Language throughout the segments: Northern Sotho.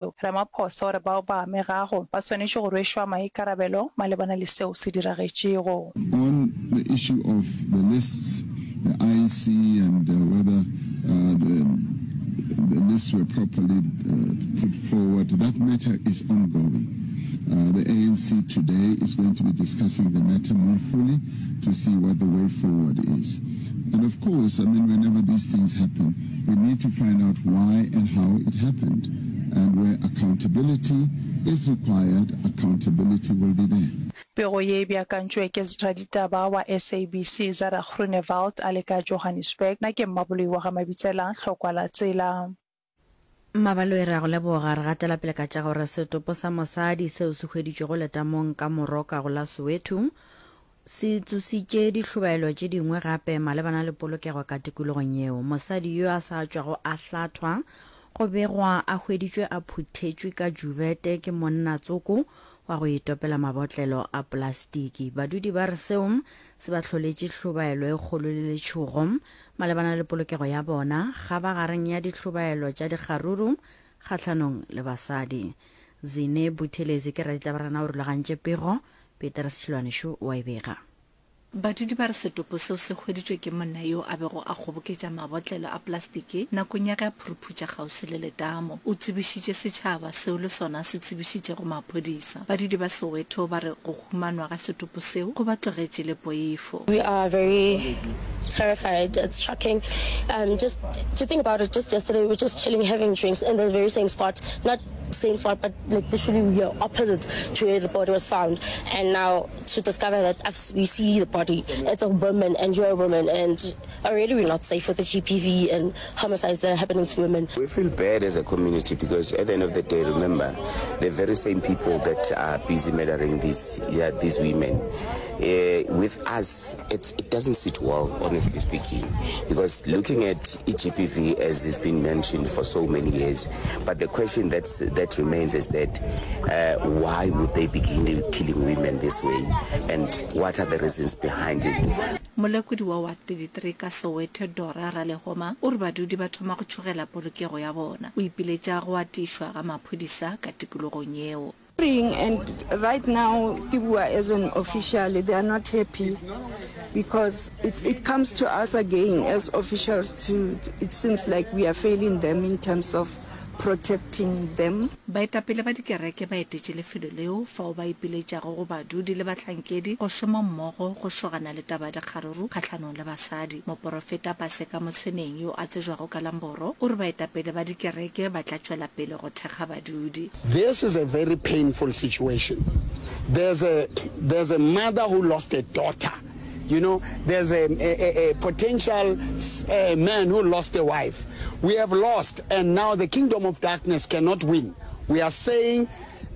Ramaphosa o re bao ba amegago ba swanetše go rwešwa maikarabelo malebana le seo se diragetšego. On the issue of the lists, the IEC and whether the the lists were properly put forward, that matter is ongoing. The ANC today is going to be discussing the matter more fully to see what the way forward is. And of course, I mean, whenever these things happen, we need to find out why and how it happened. And where accountability is required, accountability will be there. Pego ye e beakantšwe ke raditaba wa SABC Zara Groenewald a le ka Johannesburg. Nna ke Mmaboloi wa ga Mabitsela, Hlokwa la Tsela. Mmabaloi re a go leboga. Re gatela pele ka tša gore setopo sa mosadi seo se hweditšwego letamong ka Moroka go la Soweto se tsositše dihlobaelo tše dingwe gape malebana le polokego ka tikologong yeo. Mosadi yo a sa tšwago a hlathwa go begwa a hweditšwe a phuthetšwe ka juvete ke monna tsoko wa go itopela mabotlelo a polastiki. Badudi ba re seo se ba hloletše hlobaelo e kgolo le letšhogo Malebana le polokego ya bona, kgabagareng ya dihlobaelo tša dikgaruru kgahlanong le basadi. Zine Buthelezi ke raditabarena o rulagantše pego, Petrus Tšhilwane šo o a e bega. Badudi ba re setopo seo se hweditšwe ke monna yo a bego a kgoboketša mabotlelo a plastiki nakong ya ge a phuruphutša kgauswi le letamo. O tsebišitše setšhaba seo le sona se tsebišitšego maphodisa. Badudi ba Soweto ba re go humanwa ga setopo seo go ba tlogetše le poifo. We are very terrified, it's shocking um just to think about it, just yesterday we were just chilling having drinks in the very same spot, not same spot but like literally we are opposite to where the body was found and now to discover that I've, we see the body, it's a woman and you're a woman and already we're not safe with the GBV and homicides that are happening to women. We feel bad as a community because at the end of the day, remember, the very same people that are busy murdering these, yeah, these women, uh, with us, it's, it doesn't sit well, honestly speaking, because looking at EGPV as has been mentioned for so many years, but the question that's, that remains is that uh, why would they be killing women this way and what are the reasons behind it? Molekodi wa Ward 33 ka Soweto, Dora Ralehoma, o re badudi ba thoma go tšhogela polokego ya bona. O ipiletša go atišwa ga maphodisa ka tikologong yeo. And right now ke bua as an official, they are not happy because it, it comes to us again as officials to, it seems like we are failing them in terms of protecting them. Baetapele ba dikereke ba etetše lefelo leo fao ba ipiletšago go badudi le bahlankedi go šoma mmogo go šogana le taba ya dikgaruru kgahlanong le basadi. Moporofeta Paseka Motshweneng yo a tsejwago ka la Mboro o re baetapele ba dikereke ba tla tšwela pele go thekga badudi. This is a very painful situation. There's a, there's a mother who lost a daughter. You know, there's a, a, a potential uh, man who lost a wife. We have lost, and now the kingdom of darkness cannot win. We are saying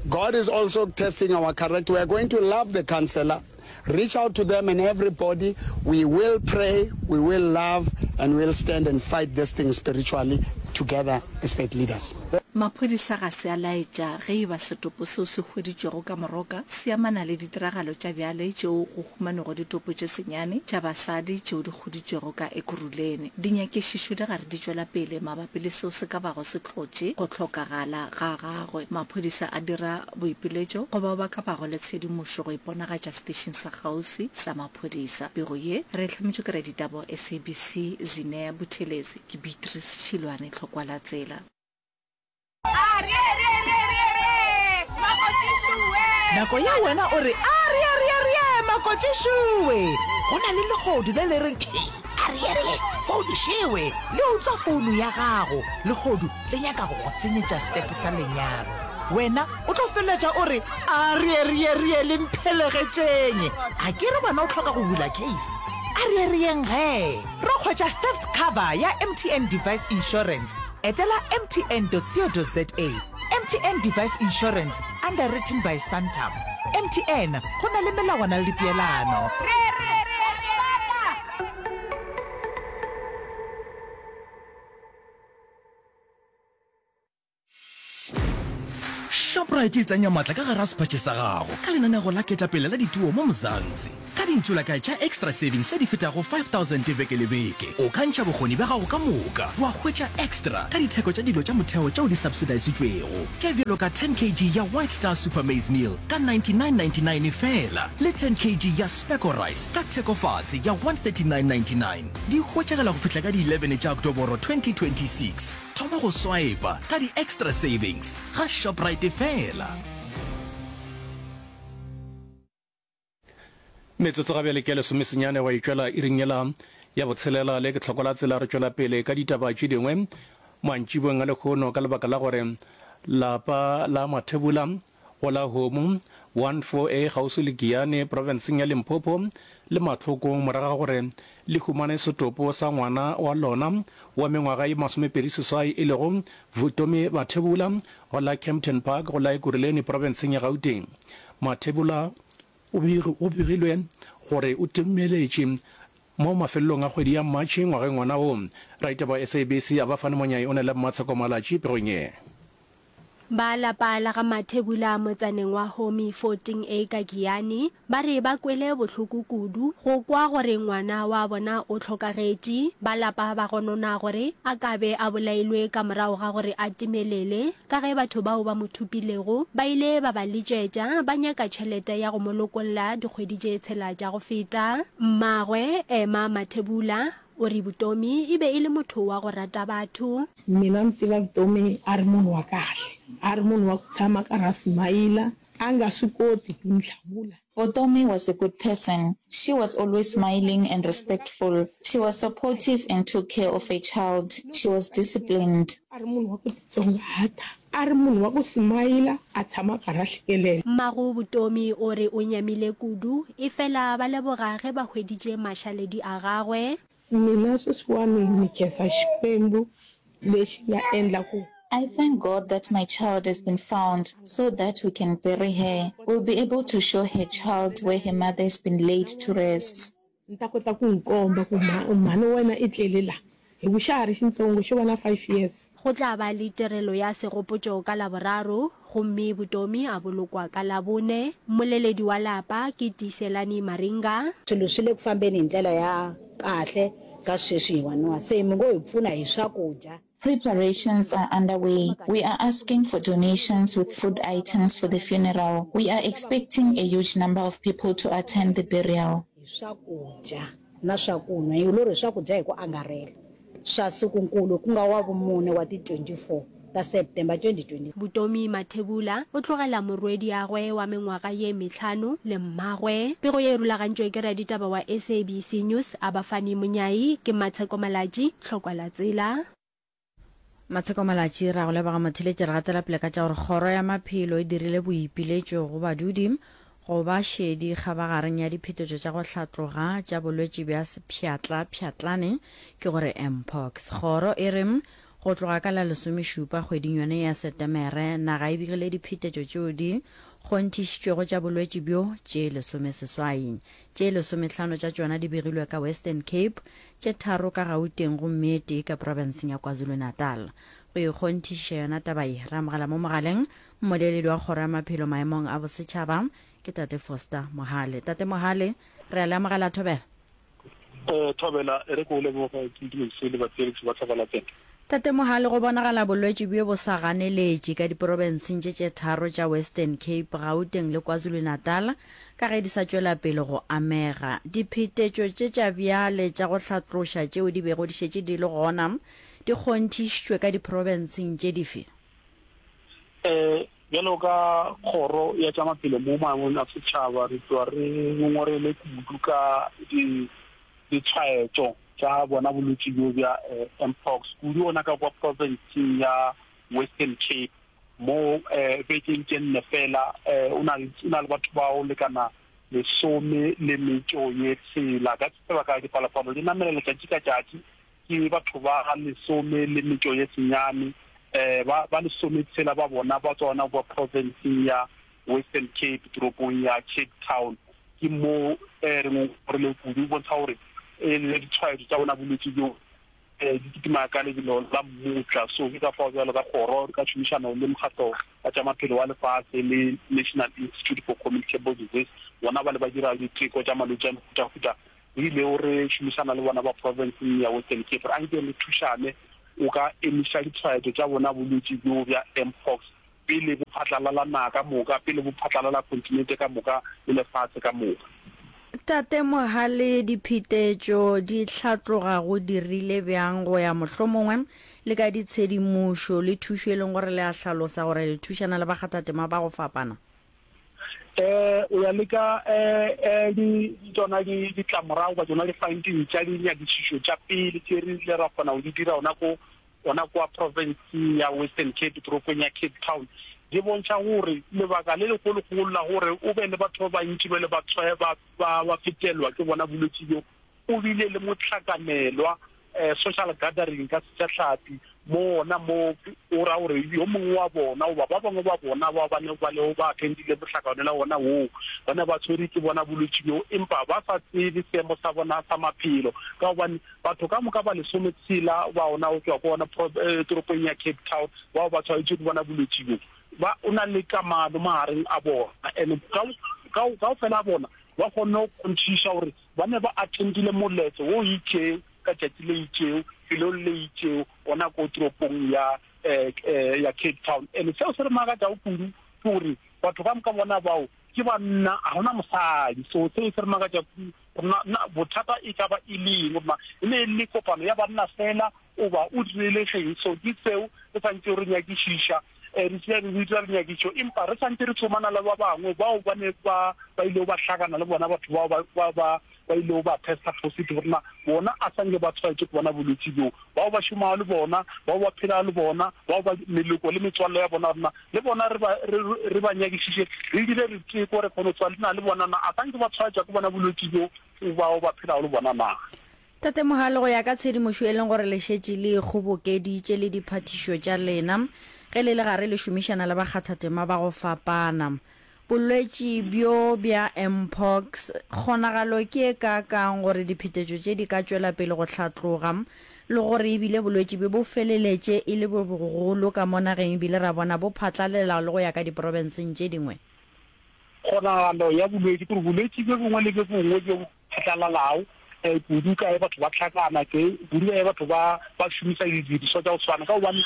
God is also testing our character. We are going to love the counselor. Reach out to them and everybody. We will pray, we will love, and we'll stand and fight this thing spiritually together as faith leaders. Maphodisa ga se a laetša ge e ba setopo seo se hweditšwego ka Moroka se amana le ditiragalo tša bjale tšeo go humanego ditopo tše senyane tša basadi tšeo di huditšwego ka Ekurhuleni. Dinyakišišo di gare di tšwela pele mabapi le seo se ka bago se hlotše go hlokagala ga gagwe. Maphodisa a dira boipiletšo go bao ba ka bago le tshedimošo go iponagatša setešeng sa kgauswi sa maphodisa. Pego ye re e hlametšwe ke raditaba wa SABC Zinea Buthelezi. Ke Beatrice Tšhilwane, Tlhokwalatsela. Nako ye wena o re, Arieariearie, makotšišowe! Go na le lehodu le le reng, Hei, ariearie, founu šewe! Le utswa founu ya gago. Lehodu le nyaka go go senyetša setepe sa lenyalo. Wena o tlo feleletša o re, Arieariearie, le mphelegetšeng! A ke re wena o hloka go bula case? Ariearieng gee! Ro hwetša theft cover ya MTN Device Insurance. Etela mtn.co.za. MTN Device Insurance, underwritten by Santam. MTN, go na le melawana le dipeelano. Shoprite e tsenya matla ka gare ga sephatše sa gago ka lenanego la ketapele la dituo mo Mzansi. Ka dintšolakae tša Xtra Savings tše di fetago 5000 beke le beke, o ka ntšha bokgoni bja gago ka moka wa hwetša extra ka ditheko tša dilo tša motheo tšeo di subsidisitšwego, tše bjalo ka 10 kg ya White Star Super Maize Meal ka 99.99 feela le 10 kg ya Specco Rice ka thekofase ya 139.99. Di hwetšagala go fihla ka di 11 tša Oktoboro 2026. Thoma go swipa ka di-Xtra Savings ga Shoprite feela. Metsotso ga bjale ke ya lesomesenyane wa itšwela iring yela ya botshelela le ke tlhoko la tsela re tšwela pele ka ditaba tše dingwe mantšiboeng a lehono ka lebaka la gore lapa la Mathebula go la Homu 14A kgauswi le Giyani profenseng ya Limpopo le mahlokong morago ga gore le humane setopo sa ngwana wa lona wa mengwaga ye 28 e lego Vutomi Mathebula go la Kempton Park go la Ekurhuleni profenseng ya Gauteng. Mathebula o begilwe gore o timeletše mo mafelelong a kgwedi ya Matšhe ngwageng wona wo. Raitaba wa SABC Abafani Monyai o na le Mmatsheko Malatji pegong ye. Ba lapa la ga Mathebula motsaneng wa Homi 14A ka Giyani ba re ba kwele bohloko kudu go kwa gore ngwana wa bona o hlokagetše. Ba lapa ba gonona gore a ka be a bolailwe ka morago ga gore a timelele ka ge batho bao ba mo thopilego ba ile ba ba letšetša ba nyaka tšhelete ya go mo lokolla dikgwedi tše tshela tša go feta. Mmagwe, Emma Mathebula, o re Vutomi e be e le motho wa go rata batho. Mina ni tiva Vutomi a ri munhu wa kahle, a ri munhu wa ku tshama a karhi a simayila, a nga swi koti ku ni hlamula. Vutomi was a good person. She was always smiling and respectful. She was supportive and took care of her child. She was disciplined. A ri munhu wa ku titsongahata, a ri munhu wa ku simayila, a tshama a karhi a hlekelela. Mmago Vutomi o re o nyamile kudu, efela ba leboga ge ba hweditše mašaledi a gagwe. Mina sweswiwani ni khensa Xikwembu lexi nga endla ku. I thank God that my child has been found so that we can bury her. We'll be able to show her child where her mother has been laid to rest. Ni ta kota ku n'wi komba ku mhani wa wena i tlele la, hi ku xa ha ri xintsongo, xo va na five years. Go tla ba le tirelo ya segopotšo ka Laboraro gomme Vutomi a bolokwa ka Labone. Mmoleledi wa lapa ke Tiiselani Maringa. Swilo swi le ku fambeni hi ndlela ya kahle ka sweswi hiwaniwa, se mi ngo hi pfuna hi swakudya. Preparations are underway. We are asking for donations with food items for the funeral. We are expecting a huge number of people to attend the burial. Hi swakudya na swakunwa, hi lorhi swakudya hi ku angarhela swa sikunkulu ku nga Wavumune wa ti 24 ta September 2026. Vutomi Mathebula o tlogela morwediagwe wa mengwaga ye mehlano le mmagwe. Pego ye e rulagantšwe ke raditaba wa SABC News Abafani Monyai, ke Matsheko Malatji, Hlokwa la tsela. Matsheko Malatji, Ra go leboga motheeletši. Re gatela pele ka tša gore Kgoro ya Maphelo e dirile boipiletšo go badudi go ba šedi kgabagareng ya diphetetšo tša go hlatloga tša bolwetši bja sepšhatla-pšhatlane, ke gore Mpox. Kgoro e re go tloga ka la lesomešupa kgweding yone ya Setemere, naga e begile diphetetšo tšeo di kgonthišitšwego tša bolwetši bjo tše lesomeseswai. Tše lesomehlano tša tšona di begilwe ka Western Cape, tše tharo ka Gauteng gomme e tee ka profenseng ya KwaZulu-Natal. Go ikgonthišiša yona taba ye, re amogela mo mogaleng mmoleledi wa Kgoro ya Maphelo maemong a bosetšhaba, ke Tate Foster Mohale. Tate Mohale, re a le amogela Thobela. Eh, Thobela, e re ke o leboge, ke ntumedise le batheeletši ba Thobela FM. Tate Mohale, go bonagala bolwetši bjo bo sa ganeletše ka diprofenseng tše tše tharo tša Western Cape, Gauteng le KwaZulu-Natal ka ge di sa tšwela pele go amega. Diphetetšo tše tša bjale tša go hlatloša tšeo di bego di šetše di le gona di kgonthišitšwe ka diprofenseng tše dife? Bjalo ka kgoro ya tša maphelo mo maemong a setšhaba re tloga re ngongorele kudu ka di ditshwaetšo tša bona bolwetši bjo bja Mpox, kudu gona ka kwa profenseng ya Western Cape, mo bekeng tše nne fela o na le batho ba go lekana lesome le metšo ye tshela. Ka sebaka dipalopalo di namela letšatši ka tšatši, ke batho ba lesome le metšo ye senyane, ba ba lesometshela ba bona ba tswa gona kwa profenseng ya Western Cape, toropong ya Cape Town. Ke mo re ngongoregile kudu, go bontsha gore le ditshwaetso tša bona bolwetši bjo di kitima ka lebelo la mmutla. So ke ka fao bjalo ka kgoro ka tšhomišano le mokgatlo wa tša Maphelo wa Lefase le National Institute for Communicable Disease, bona bale ba dira diteko tša malwetši a mehutahuta, re ilego re šomišana le bona ba profenseng ya Western Cape gore anke re thušane o ka emiša ditshwaetšo tša bona bolwetši bjo bja Mpox pele bo phatlalala naga ka moka, pele bo phatlalala kontinente ka moka le lefase ka moka. Tate Mohale, diphetetšo di hlatloga go dirile bjang go ya mohlomongwe le ka ditshedimošo le thušo e leng gore le a hlalosa gore le thušana le bakgathatema ba go fapana? Eh, o ya le ka eh, eh, di, tšona di, ditlamorago goba tšona di-finding tša dinyakišišo tša pele tše re ile ra kgona go di dira gona ko gona kwa profenseng ya Western Cape, toropong ya Cape Town, di bontšha gore lebaka le legologolo la gore o be le batho ba bantši ba ile ba ba, ba, ba fetelwa ke bona bolwetši bjo, o bile le mohlakanelwa, eh, social gathering ka Sejahlapi, mo gona mo o ra gore yo mongwe wa bona goba ba bangwe ba bona ba ba ne ba lego ba attendile mohlakanelwa wona woo, ba ne ba tshwerwe ke bona bolwetši bjo, empa ba sa tsebe seemo sa bona sa maphelo, ka gobane Batho ka moka ba lesometshela ba ona go tšwa ko ona toropong ya Cape Town bao ba tshwaetšwe ke bona bolwetši bjo, ba o na le kamano magareng a bona and kaofela a bona ba kgonne go kgonthiša gore ba ne ba attendile moletlo wo itšego ka tšatši le itšego felong le itšego ona ko toropong ya ya Cape Town. And seo se re makatšago kudu ke gore batho ka moka bona bao ke banna, ga gona mosadi. So seo se re makatša kudu gore na, na bothata e ka ba e le eng, gore na e ne e le kopano ya banna fela goba o direlegeng. So ke seo re santšego re nyakišiša, eh, re tšea re dira dinyakišišo, empa re santše re tsomana le ba bangwe bao ba ne ba, ba ilego ba hlakana le bona batho bao ba, ba, ba, ba ilego ba testa positive, gore na bona a sa nke ba tshwaetšwe ke bona bolwetši bjo, bao ba šomago le bona, bao ba phelago le bona, bao ba meloko le metswalle ya bona, gore na le bona re ba, re, re ba nyakišiše, re dire diteko, re kgone go tseba na le bona na a sa nke ba tshwaetšwa ke bona bolwetši bjo bao ba phelago le bona na. Tate Mohale, go ya ka tshedimošo e leng gore le šetše le e kgobokeditše le diphathišo tša lena ge le le gare le šomišana le bakgathatema ba go fapana, Bolwetši bjo bja Mpox, kgonagalo ke e kaakang gore diphetetšo tše di ka tšwela pele go hlatloga le gore e bile bolwetši bjo bo feleletše e le bjo bogolo ka mo nageng e bile ra bona bo phatlalela le go ya ka diprofenseng tše dingwe? Kgonagalo ya bolwetši ke gore bolwetši bjo bongwe le bjo bongwe bjo phatlalalago kudu ka ge batho ba hlakana, ke kudu ka ge batho ba ba šomisa didirišwa tša go swana, ka gobane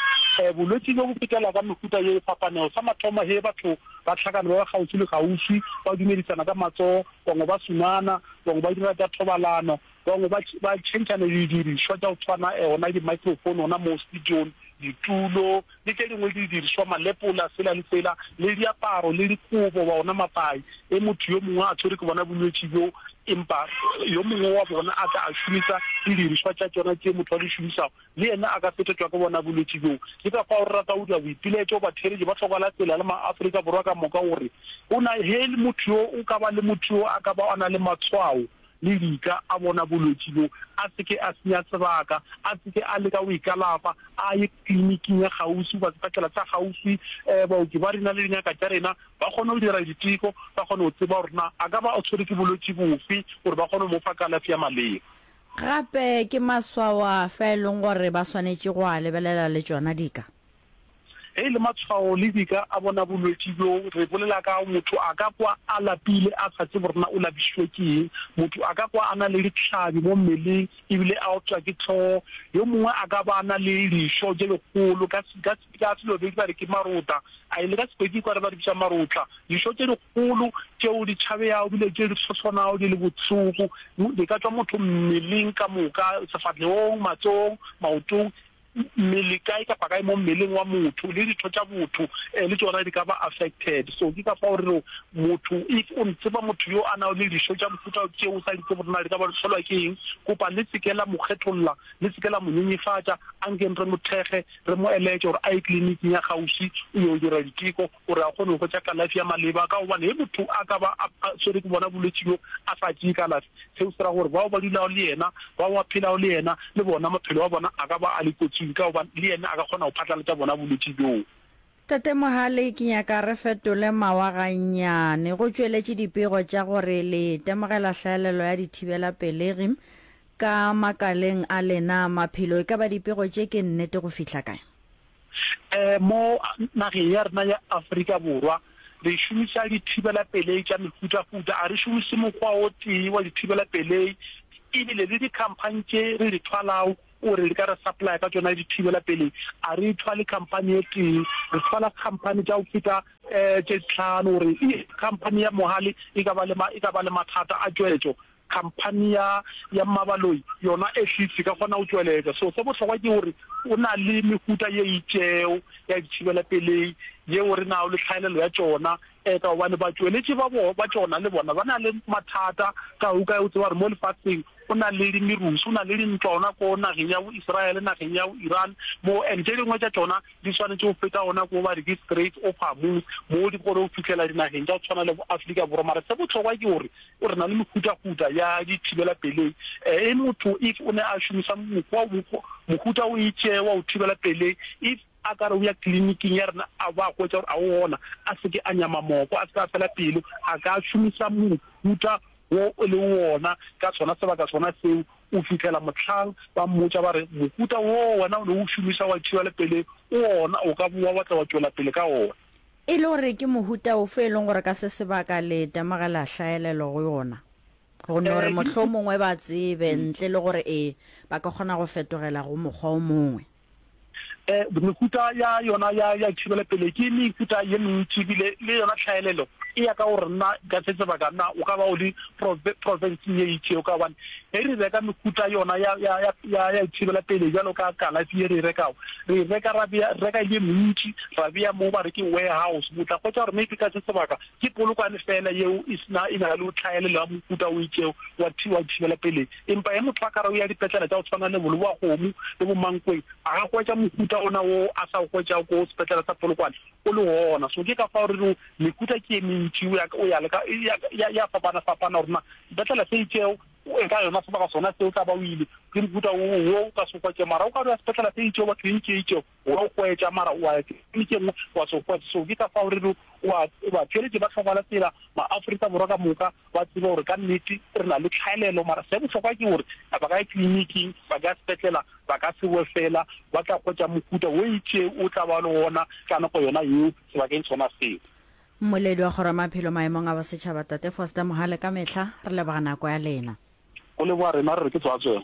bolwetši bjo bo fetela ka mehuta ye e fapanego. Sa mathomo, ge batho ba hlakana ba ba kgauswi le kgauswi, ba dumedisana ka matsogo, bangwe ba sunana, bangwe ba dira tša thobalano, bangwe ba ba tšhentšhana didirišwa tša go tshwana, gona di-microphone gona mo studiong, ditulo, le tše dingwe didirišwa, malepola, sela le sela, le diaparo, le dikobo, ba ona mapai. Ge motho yo mongwe a tshwerwe ke bona bolwetši bjo, empa yo mongwe wa bona a tla a šomisa didirišwa tša tšona tše motho a di šomišago, le yena a ka fetetšwa ke bona bolwetši bjo. Ke ka fao re rata go dira boipiletšo go batheeletši ba hloka la tsela le maAfrika Borwa ka moka gore go na ge motho yo o ka ba le motho yo a ka ba a na le matshwao le dika a bona bolwetši bjo, a se ke a senya sebaka, a se ke a leka go ikalafa, a ye kliniking ya kgauswi goba sepetlela sa kgauswi. Baoki ba rena le dingaka tša rena ba kgone go dira diteko, ba kgone go tseba gore na a ka ba a tshwerwe ke bolwetši bofe gore ba kgone go mo fa kalafi ya maleba. Gape ke maswao afe a e leng gore ba swanetše go a lebelela le tšona dika? Ge e le matshwao le dika a bona bolwetši bjo, re bolela ka motho a ka kwa a lapile a sa tsebe gore na o lapišitšwe ke eng. Motho a ka kwa a na le dihlabi mo mmeleng ebile a opša ke hlogo. Yo mongwe a ka ba a na le dišo tše dikgolo, ka ka ka Selobedi ba re ke marota, a le ka Sepedi kwa re ba di bitša marotla. Dišo tše dikgolo tšeo di tšhabeago ebile tše di hlohlonago di le bohloko, di ka tšwa motho mmeleng ka moka, sefahlegong, matsogong, maotong. Mmele kae kapa kae mo mmeleng wa motho le ditho tša botho le tšona di ka ba affected. So ke ka fao re rego motho if o tseba motho yo a nago le dišo tša mohuta tšeo o sa di tsebe gore na di ka ba di hlolwa ke eng, kopa le se ke la mo kgetholla, le se ke la mo nyenyefatša, ankeng re mo thekge, re mo eletše gore a ye kliniking ya kgauswi o yo dira diteko. gore a kgone go hwetša kalafi ya maleba, ka gobane ge motho a ka ba a swerwe ke bona bolwetši bjo a sa tšee kalafi, seo se ra gore bao ba dulago le yena, bao ba phelago le yena, le bona maphelo a bona a ka ba a le kotsing, ka gobane le yena a ka kgona go phatlalatša bona bolwetši bjoo. Tate Mohale, ke nyaka re fetole mawa gannyane. Go tšweletše dipego tša gore le itemogela hlaelelo ya dithibelapelegi ka makaleng a lena a maphelo. E ka ba dipego tše ke nnete go fihla kae? Um mo nageng ya rena ya Afrika Borwa re šomiša dithibelapelei tša mehutahuta, a re šomiše mokgwa o tee wa dithibelapelei, ebile le dikhamphani tše re di thwalago gore di ka re supplya ka tšona dithibelapelei, a re thwale khamphani e tee, re thwala khamphani tša go feta tše tlhano gore khamphani ya Mohale e ka ba le e ka ba le mathata a tšweletšo, Khamphani ya ya Mmabaloi yona at least e ka kgona go tšweletša. So se bohlokwa ke gore o na le mehuta ye itšego ya dithibelapelei yeo re nago le tlhaelelo ya tšona, eh, ka gobane batšweletši ba bo ba tšona le bona ba na le mathata ka go kae o tseba gore mo lefaseng go na le merusu, go na le dintwa gona ko nageng ya bo Israel, nageng ya bo Iran mo, and tše dingwe tša tšona di swanetše go feta gona ko ba re ke Straits of Hormuz mo di kgone go fihlela dinageng tša go tshwana le bo Afrika Borwa. Mara se bohlokwa ke gore Re na le mehutahuta ya dithibelapelei. E motho if o ne a šomisa mokgwa mohuta o itše wa go thibela pelei, if a ka re o ya kliniking ya rena a ba hwetša gore a o gona, a se ke a nyama moko, a se ke a fela pelo, a ka šomisa mohuta wo e leng wona ka sona sebaka sona seo o fihlela mohlang ba mmotša ba re mohuta wo wena o ne o šomisa wa thibela pelei o ona, o ka bowa wa tla wa tšwela pele ka ona. E le gore ke mohuta ofe e leng gore ka se sebaka le itemogela hlaelelo go yona? Go no re mohlomongwe ba tsebe ntle le gore ee ba ka kgona go fetogela go mokgwa o mongwe. Mehuta ya yona ya ya thibelapele ke mehuta ye mentši ebile le yona tlhaelelo e ya ka gore na ka se sebaka na o ka ba o le profenseng ye itšego ka gobane ge re reka mehuta yona ya ya ya ya thibelapele bjalo ka kalafi ye re e rekago Re e reka ra bea, re reka e le mentši, ra bea mo ba re ke warehouse. O tla hwetša gore maybe ka se sebaka ke polokwane feela yeo e se na, e na le tlhaelelo ya mohuta o itšego wa thi, wa thibelapelegi. Empa ge motho a ka re o ya dipetlele tša go tshwana le bo Lebowakgomo le bo Mankweng, a ka hwetša mohuta ona wo a sa o hwetšago ko sepetlele sa Polokwane o le gona. So ke ka fao re rego mehuta ke e mentši, o ya, o ya le ka, e ya, ya, ya fapana-fapana gore na sepetlele se itšego E ka yona sebaka sona seo o tla ba o ile, ke mohuta wo wo o ka se hwetše. Mara o ka no ya sepetlele se itšego, kliniki e itšego, wa o hwetša, mara wa ya kliniki e nngwe wa se o hwetše. So ke ka fao re re wa batheeletši ba hloka la tsela, maAfrika Borwa ka moka ba tsebe gore ka nnete re na le tlhaelelo. Mara se bohlokwa ke gore ba ka ya kliniking, ba ka ya sepetlela, ba ka se boe fela, ba tla hwetša mohuta wo itšego o tla ba le wona ka nako yona yeo sebakeng sona seo. Mmoledi wa Kgoro ya Maphelo maemong a bosetšhaba Tate Foster Mohale ka mehla re leboga nako ya lena. Go leboga rena re re ke tswatswelo.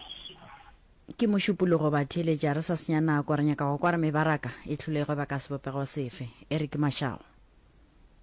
Ke Mošupologo batheeletši a re sa senya nako re nyaka go kwa re mebaraka e hlolego ba ka sebopego sefe. Eric Mashau.